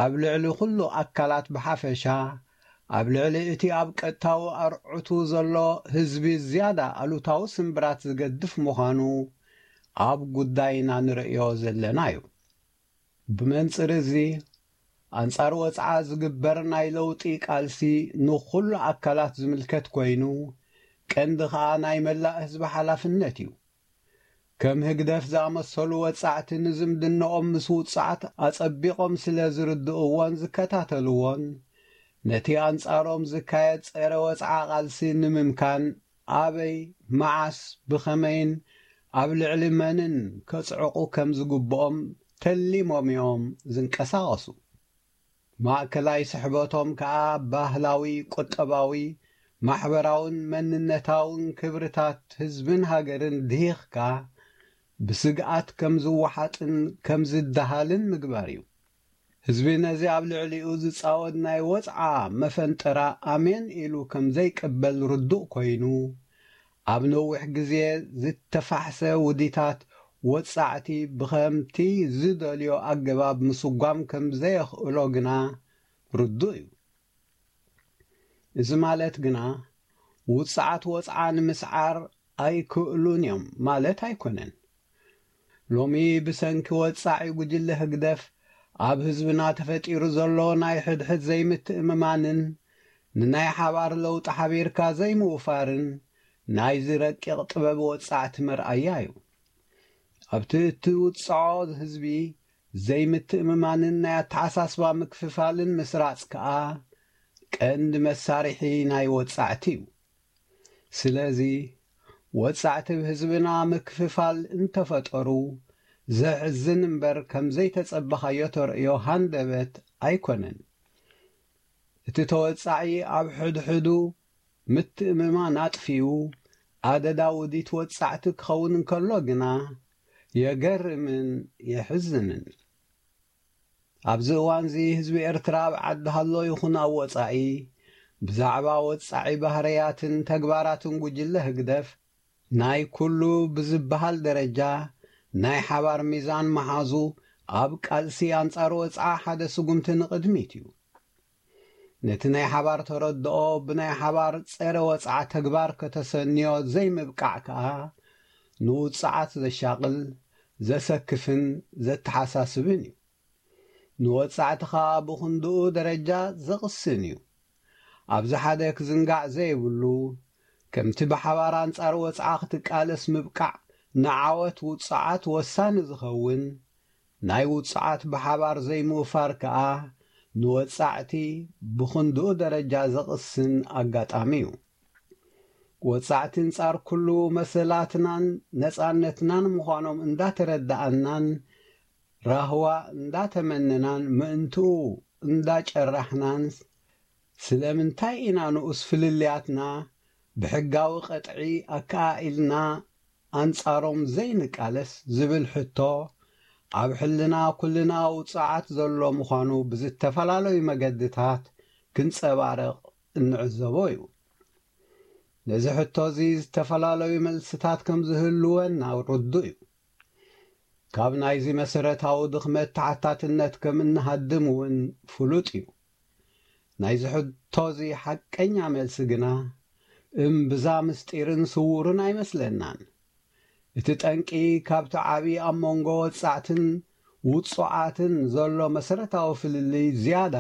ኣብ ልዕሊ ኩሉ ኣካላት ብሓፈሻ፣ ኣብ ልዕሊ እቲ ኣብ ቀጥታዊ ኣርዑቱ ዘሎ ህዝቢ ዝያዳ ኣሉታዊ ስምብራት ዝገድፍ ምዃኑ ኣብ ጉዳይና ንርእዮ ዘለና እዩ። ብመንጽር እዚ፣ ኣንጻር ወጽዓ ዝግበር ናይ ለውጢ ቃልሲ ንኹሉ ኣካላት ዝምልከት ኮይኑ፣ ቀንዲ ኸኣ ናይ መላእ ህዝቢ ሓላፍነት እዩ። ከም ህግደፍ ዝኣመሰሉ ወጻዕቲ ንዝምድናኦም ምስ ውጽዓት ኣጸቢቖም ስለ ዝርድእዎን ዝከታተልዎን፣ ነቲ ኣንጻሮም ዝካየድ ጸረ ወጽዓ ቃልሲ ንምምካን ኣበይ፣ መዓስ፣ ብኸመይን ኣብ ልዕሊ መንን ከጽዕቑ ከም ዝግብኦም ተሊሞም እዮም ዝንቀሳቐሱ። ማእከላይ ስሕበቶም ከኣ ባህላዊ፣ ቁጠባዊ፣ ማሕበራውን መንነታውን ክብርታት ህዝብን ሃገርን ድሂኽካ ብስግኣት ከም ዝወሓጥን ከም ዝደሃልን ምግባር እዩ። ህዝቢ ነዚ ኣብ ልዕሊኡ ዝጻወድ ናይ ወጽዓ መፈንጠራ ኣሜን ኢሉ ከም ዘይቅበል ርዱእ ኮይኑ፣ ኣብ ነዊሕ ግዜ ዝተፋሕሰ ውዲታት ወጻዕቲ ብኸምቲ ዝደልዮ ኣገባብ ምስጓም ከም ዘየኽእሎ ግና ርዱእ እዩ። እዚ ማለት ግና ውጽዓት ወጽዓ ንምስዓር ኣይክእሉን እዮም ማለት ኣይኮነን። ሎሚ ብሰንኪ ወጻዒ ጉጅለ ህግደፍ ኣብ ህዝብና ተፈጢሩ ዘሎ ናይ ሕድሕድ ዘይምትእምማንን ንናይ ሓባር ለውጢ ሓቢርካ ዘይምውፋርን ናይዚ ረቂቕ ጥበብ ወጻዕቲ መርኣያ እዩ። ኣብቲ እትውጽዖ ህዝቢ ዘይምትእምማንን ናይ ኣተሓሳስባ ምክፍፋልን ምስራጽ ከኣ ቀንዲ መሳርሒ ናይ ወጻዕቲ እዩ። ስለዚ ወጻዕቲ ብህዝብና ምክፍፋል እንተፈጠሩ ዘሕዝን እምበር ከም ዘይተጸበኻዮ ተርእዮ ሃንደበት ኣይኮነን። እቲ ተወጻዒ ኣብ ሕድሕዱ ምትእምማን ኣጥፊኡ ኣደዳ ውዲት ወጻዕቲ ክኸውን እንከሎ ግና የገርምን የሕዝንን። ኣብዚ እዋንዚ ህዝቢ ኤርትራ ኣብ ዓዲ ሃሎ ይኹን ኣብ ወጻኢ ብዛዕባ ወጻዒ ባህርያትን ተግባራትን ጉጅለ ህግደፍ ናይ ኩሉ ብዝበሃል ደረጃ ናይ ሓባር ሚዛን መሓዙ ኣብ ቃልሲ ኣንጻር ወጽዓ ሓደ ስጉምቲ ንቕድሚት እዩ። ነቲ ናይ ሓባር ተረድኦ ብናይ ሓባር ጸረ ወጽዓ ተግባር ከተሰንዮ ዘይምብቃዕ ከኣ ንውጽዓት ዘሻቕል፣ ዘሰክፍን ዘተሓሳስብን እዩ። ንወጻዕቲ ከኣ ብኽንድኡ ደረጃ ዘቕስን እዩ። ኣብዚ ሓደ ክዝንጋዕ ዘይብሉ፣ ከምቲ ብሓባር ኣንጻር ወጽዓ ክትቃለስ ምብቃዕ ንዓወት ውጽዓት ወሳኒ ዝኸውን፣ ናይ ውጽዓት ብሓባር ዘይምውፋር ከኣ ንወጻዕቲ ብኽንድኡ ደረጃ ዘቕስን ኣጋጣሚ እዩ። ወጻዕቲ ኣንጻር ኩሉ መሰላትናን ነጻነትናን ምዃኖም እንዳተረዳኣናን ራህዋ እንዳተመነናን ምእንትኡ እንዳጨራሕናን ስለምንታይ ኢና ንኡስ ፍልልያትና ብሕጋዊ ቀጥዒ ኣከኣኢልና ኣንጻሮም ዘይንቃለስ ዝብል ሕቶ ኣብ ሕልና ኩልና ውጽዓት ዘሎ ምዃኑ ብዝተፈላለዩ መገድታት ክንጸባረቕ እንዕዘቦ እዩ። ነዚ ሕቶ እዚ ዝተፈላለዩ መልስታት ከም ዝህልወና ርዱእ እዩ። ካብ ናይዚ መሰረታዊ ድኽመት ተሓታትነት ከም እንሃድም እውን ፍሉጥ እዩ። ናይዚ ሕቶ እዚ ሓቀኛ መልሲ ግና እምብዛ ምስጢርን ስዉርን ኣይመስለናን። እቲ ጠንቂ ካብቲ ዓቢ ኣብ መንጎ ወጻዕትን ውጹዓትን ዘሎ መሰረታዊ ፍልልይ ዝያዳ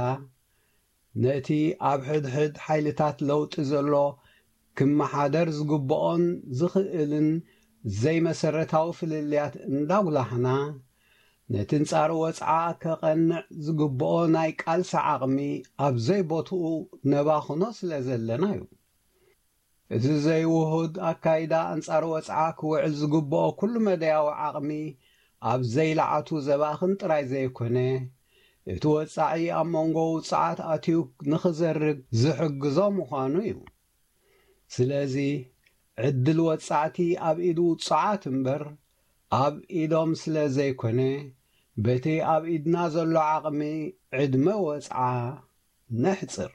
ነቲ ኣብ ሕድሕድ ሓይልታት ለውጢ ዘሎ ክመሓደር ዝግብኦን ዝኽእልን ዘይመሰረታዊ ፍልልያት እንዳጉላሕና፣ ነቲ ኣንጻር ወጽዓ ከቐንዕ ዝግብኦ ናይ ቃልሲ ዓቕሚ ኣብ ዘይቦትኡ ነባኽኖ ስለ ዘለና እዩ። እዚ ዘይውሁድ ኣካይዳ ኣንጻር ወጽዓ ክውዕል ዝግብኦ ኩሉ መዳያዊ ዓቕሚ ኣብ ዘይለዓቱ ዘባኽን ጥራይ ዘይኮነ፣ እቲ ወጻዒ ኣብ መንጎ ውጹዓት ኣትዩ ንኽዘርግ ዝሕግዞ ምዃኑ እዩ። ስለዚ ዕድል ወጻዕቲ ኣብ ኢድ ውጹዓት እምበር ኣብ ኢዶም ስለ ዘይኮነ፣ በቲ ኣብ ኢድና ዘሎ ዓቕሚ ዕድመ ወጽዓ ነሕጽር።